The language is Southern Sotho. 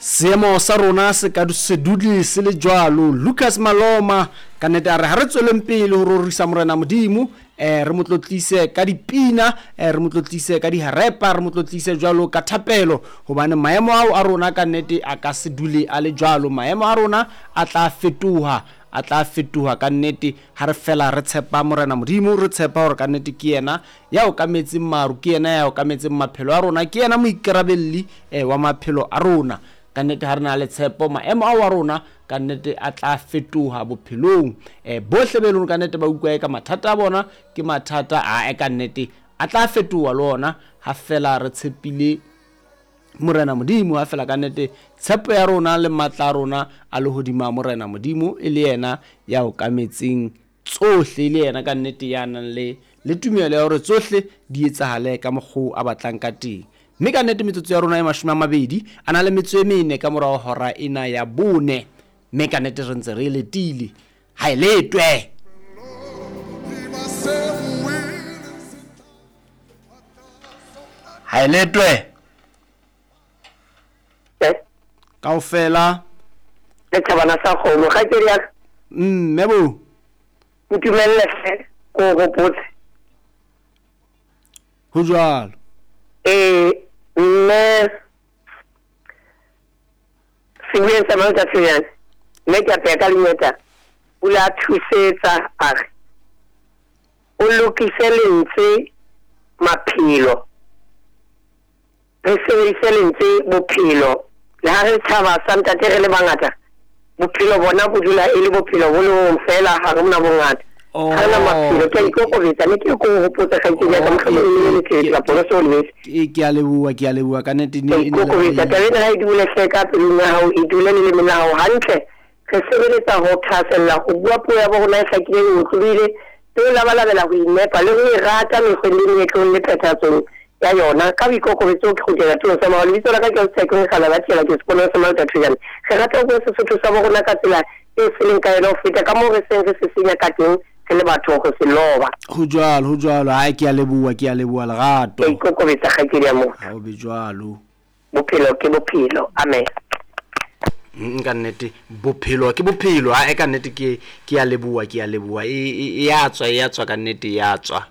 Seemo sa rona se ka se dule se le jwalo. Lucas Maloma ka nnete a re ha re tsweleng pele ho rorisa Morena Modimo, eh, re mo tlotlise ka dipina, eh, re mo tlotlise ka diharepa, re mo tlotlise jwalo ka thapelo, hobane maemo ao a rona ka nnete a ka se dule a le jwalo. Maemo a rona a tla fetoha, a tla fetoha ka nnete ha re fela re tshepa Morena Modimo, re tshepa hore ka nnete ke yena ya okametseng maru, ke yena ya okametseng maphelo a rona, ke yena moikarabelli eh, wa maphelo a rona. Ka nnete ha re na le tshepo, maemo ao a rona ka nnete a tla fetoha bophelong. Eh, bohle be leng ka nnete ba utlwa eka mathata a bona ke mathata a e ka nnete a tla fetoha le ona ha fela re tshepile Morena Modimo, ha fela ka nnete tshepo ya rona le matla a rona a le hodima Morena Modimo, e le yena ya okametseng tsohle, e le yena ka nnete ya nang le le tumelo ya hore tsohle di etsahale ka mokgwa a batlang ka teng. Mme ka nnete metsotso ya rona e 20 a na le metso e mene ka morao hora ena ya bone. Mme ka nnete re ntse re e letile. Ha e letwe! Ha e letwe! Kaofela. Setjhabana sa kgomo, kgaitsedi ya ka. Mme bo. Ntumelle hle ko o gopotse. Ho jwalo. Ee, mme sebueng sa Malta Tshenyane, mme ke apeya ka lengeta, o ile a thusetsa a re, O lokise lentswe maphelo. Re sebedise lentswe bophelo. Le ha re tjhaba sa ntate re le bangata, bophelo bona bo dula e le bophelo bo le bong feela, ha re na bongata. Ha re na maphelo. Ke a ikokobetsa, ne ke re ke o hopotse kgaitsedi ya ka, mohlomong e ne le letletse kapa o ne se o lebetse. Ke a leboha, ke a leboha ka nnete. Ke a ikokobetsa. Taba ena ha e dule hle ka pelong ya hao, e dule lelemeng la hao hantle. Re sebeletsa ho thahasella ho bua puo ya bo rona e hlakileng, e otlolohile, le ho labalabela ho inepa le ho e rata mekgweng le meetlong le phethahatsong ya yona. Ka boikokobetso ke kgutlela tulong sa morao. Lebitso la ka ke Ausi Lekgala la Thiela, ke seponong sa Malta Thojane. Re rata ho bua Sesotho sa bo rona ka tsela eo se leng ka yona ho feta ka moo re seng re se senya ka teng re le batho ho se loba. Ho jwalo, ho jwalo. Hai, ke a leboha, ke a leboha Lerato. Ke a ikokobetsa kgaitsedi ya motho. Ha ho be jwalo. Bophelo ke bophelo. Amen. Ka nnete bophelo ke bophelo. Ae ka nnete ke ke a leboha, ke a leboha. E e ya tswa, e ya tswa ka nnete e ya tswa.